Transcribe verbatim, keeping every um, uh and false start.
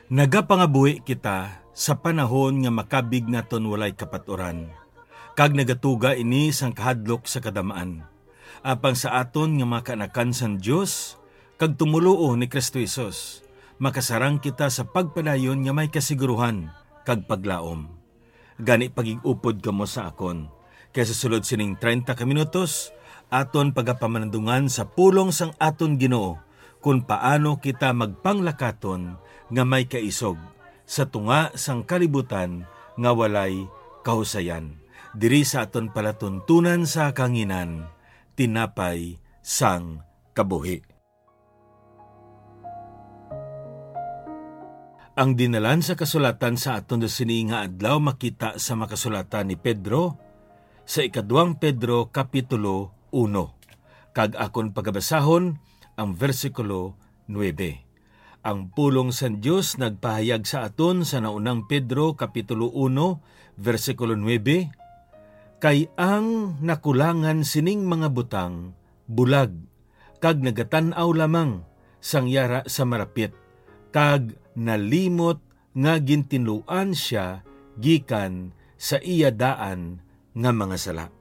Nagapangabuhi kita sa panahon nga makabig naton walay kapaturan, kag nagatuga ini sang kahadlok sa kadamaan. Apang sa aton nga mga kaanakan sang Dios kag tumoluo ni Cristo Jesus, makasarang kita sa pagpadayon nga may kasiguruhan kag paglaom. Gani, pagig-upod kamo sa akon, kay sa sulod sining treinta ka minutos, aton pagapamanandungan sa pulong sang aton Ginoo kon paano kita magpanglakaton nga may kaisog sa tunga sang kalibutan nga walay kahusayan, diri sa aton palatuntunan sa kahanginan, tinapay sang kabuhi. Ang dinalan sa kasulatan sa aton sini nga adlaw makita sa makasulatan ni Pedro sa ikadwang Pedro kapitulo uno, kag akon pagabasahon ang bersikulo nuebe. Ang pulong sang Dios nagpahayag sa aton sa naunang Pedro kapitulo uno, bersikulo nuebe, "Kay ang nakulangan sining mga butang bulag, kag nagatan-aw lamang sang yara sa marapit, kag nalimot nga gintinluan sia gikan sa iya daan nga mga sala."